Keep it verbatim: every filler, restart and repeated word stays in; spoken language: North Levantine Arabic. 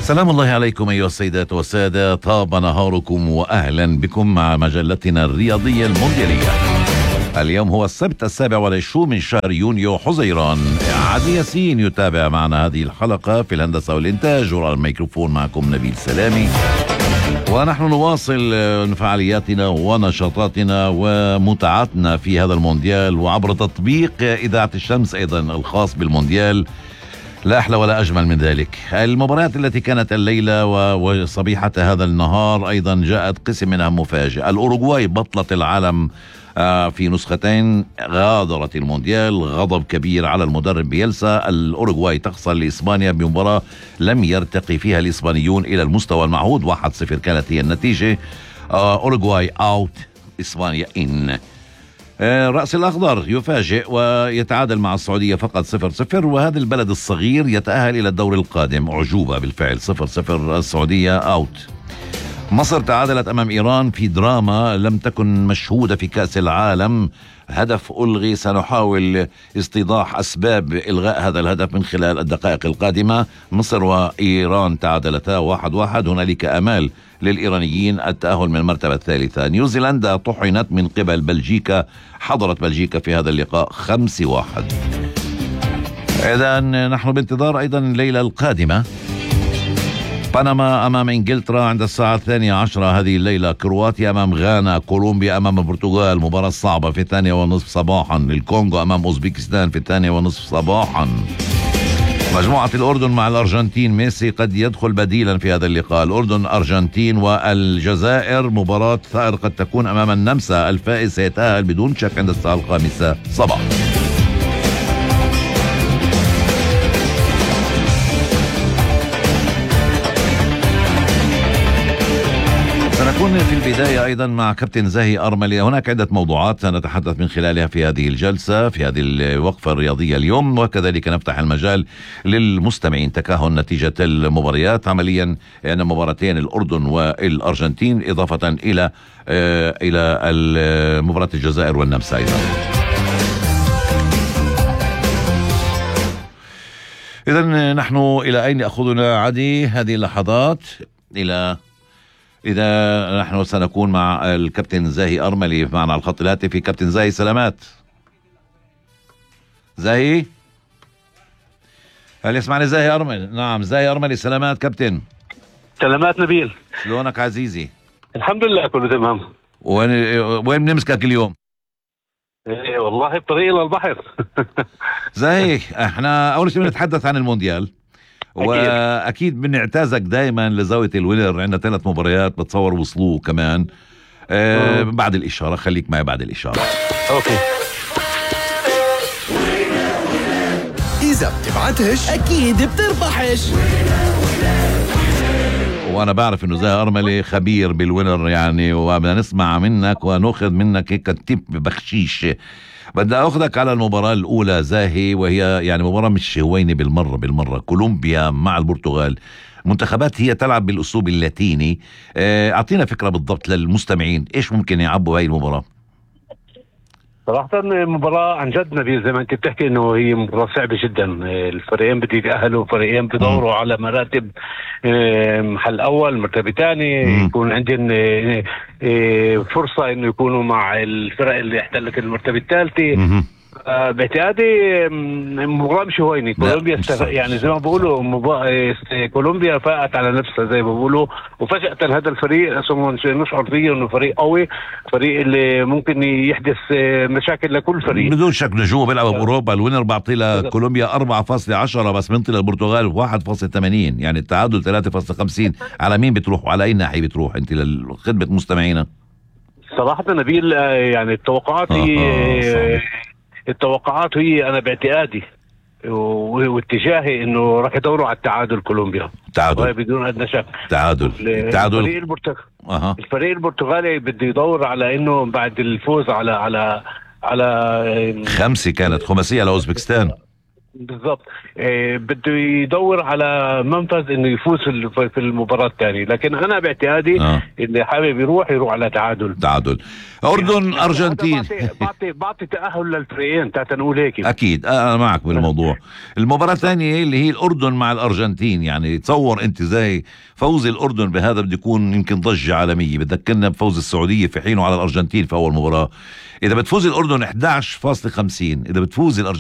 سلام الله عليكم أيها السيدات والسادة، طاب نهاركم وأهلا بكم مع مجلتنا الرياضية المونديالية. اليوم هو السبت السابع والعشرون من شهر يونيو حزيران. عدي ياسين يتابع معنا هذه الحلقة في الهندسة والإنتاج، وعلى الميكروفون معكم نبيل سلامي، ونحن نواصل فعالياتنا ونشاطاتنا ومتعتنا في هذا المونديال وعبر تطبيق إذاعة الشمس أيضا الخاص بالمونديال. لا أحلى ولا أجمل من ذلك. المباريات التي كانت الليلة وصبيحة هذا النهار أيضا جاءت قسم منها مفاجئ. الأوروغواي بطلة العالم في نسختين غادرت المونديال. غضب كبير على المدرب بيلسا. الأوروغواي تخسر لإسبانيا بمباراة لم يرتقي فيها الإسبانيون إلى المستوى المعهود. واحد صفر كانت هي النتيجة. أوروغواي أوت، إسبانيا إن. رأس الأخضر يفاجئ ويتعادل مع السعودية فقط صفر صفر، وهذا البلد الصغير يتأهل إلى الدور القادم. أعجوبة بالفعل، صفر صفر السعودية أوت. مصر تعادلت أمام إيران في دراما لم تكن مشهودة في كأس العالم. هدف ألغي، سنحاول استيضاح أسباب إلغاء هذا الهدف من خلال الدقائق القادمة. مصر وإيران تعادلتا واحد واحد. هنالك أمال للإيرانيين التأهل من المرتبة الثالثة. نيوزيلندا طحنت من قبل بلجيكا. حضرت بلجيكا في هذا اللقاء خمس واحد. إذا نحن بانتظار أيضا الليلة القادمة. بنما أمام إنجلترا عند الساعة الثانية عشرة هذه الليلة. كرواتيا أمام غانا. كولومبيا أمام البرتغال، مباراة صعبة في الثانية ونصف صباحا. الكونغو أمام أوزبكستان في الثانية ونصف صباحا. مجموعة الأردن مع الأرجنتين. ميسي قد يدخل بديلا في هذا اللقاء. الأردن أرجنتين والجزائر مباراة ثائر قد تكون أمام النمسا. الفائز سيتأهل بدون شك عند الساعة الخامسة صباحا. سنكون في البداية أيضا مع كابتن زاهي أرملي. هناك عدة موضوعات سنتحدث من خلالها في هذه الجلسة، في هذه الوقفة الرياضية اليوم، وكذلك نفتح المجال للمستمعين تكهن نتيجة المباريات. عمليا أن مباراتين الأردن والأرجنتين إضافة إلى آه إلى مباراة الجزائر والنمسا أيضا. إذن نحن إلى أين أخذنا عدي هذه اللحظات؟ إلى إذا نحن سنكون مع الكابتن زاهي أرملي معنا على الخط الهاتفي. كابتن زاهي سلامات. زاهي، هل يسمعني زاهي أرملي؟ نعم زاهي أرملي، سلامات كابتن. سلامات نبيل، شلونك عزيزي؟ الحمد لله كله تمام. وين وين بنمسكك اليوم؟ إيه والله بطريق إلى البحر. زاهي، احنا أول شيء بنتحدث عن المونديال، واكيد بنعتازك دائما لزاويه الوينر. عندنا ثلاث مباريات بتصور وصلوه كمان. آه بعد الاشاره، خليك معي بعد الاشاره. اوكي. اذا بتبعتش اكيد بتربحش. وانا بعرف انه زاهي ارملي خبير بالوينر يعني، وبدنا نسمع منك وناخذ منك هيك تيب بخشيش. بدي أخذك على المباراة الأولى زاهي، وهي يعني مباراة مش هوينة بالمرة بالمرة. كولومبيا مع البرتغال. منتخبات هي تلعب بالأسلوب اللاتيني. أعطينا فكرة بالضبط للمستمعين إيش ممكن يعبوا هاي المباراة. صراحة المباراة عن جد نبيل زي ما انت بتحكي انه هي مباراة صعبة جدا. الفريقين بدي يتأهلوا، فريقين بدوروا على مراتب محل اول مرتبة ثاني، يكون عندهم فرصة انه يكونوا مع الفرق اللي احتلت المرتبة الثالثة. آه باعتقادي مباراة مش هويني. كولومبيا استف... يعني زي ما بقولوا مبا... كولومبيا فاقت على نفسها زي ما بقولوا، وفجأة هذا الفريق نشعر فيه انه فريق قوي، فريق اللي ممكن يحدث مشاكل لكل فريق بدون شك. نجوم بيلعبوا باوروبا. الوينر بعطي لكولومبيا أربعة فاصلة عشرة بس بنطي للبرتغال واحد فاصلة ثمانين، يعني التعادل ثلاثة فاصلة خمسين. على مين بتروح وعلى اي ناحية بتروح انت لخدمة مستمعينا؟ صراحة نبيل يعني التوقعات هي آه التوقعات هي انا باعتقادي واتجاهي انه راح يدوروا على التعادل. كولومبيا تعادل بدون ادنى شك. تعادل تعادل. الفريق البرتغالي أه. الفريق البرتغالي بده يدور على انه بعد الفوز على على على خمسة كانت خماسية على اوزبكستان. بالضبط. إيه بده يدور على منفذ انه يفوز في في المباراة الثانية، لكن انا باعتقادي آه. اللي حابب يروح يروح على تعادل. تعادل. أردن أرجنتين. بعطي بعطي تأهل للفريقين، تعال نقول هيك. أكيد أنا معك بالموضوع. المباراة الثانية اللي هي الأردن مع الأرجنتين، يعني تصور أنت زي فوز الأردن بهذا بده يكون يمكن ضجة عالمية. بتذكرنا بفوز السعودية في حينه على الأرجنتين في أول مباراة. إذا بتفوز الأردن إحدى عشر فاصلة خمسين، إذا بتفوز الأرجنتين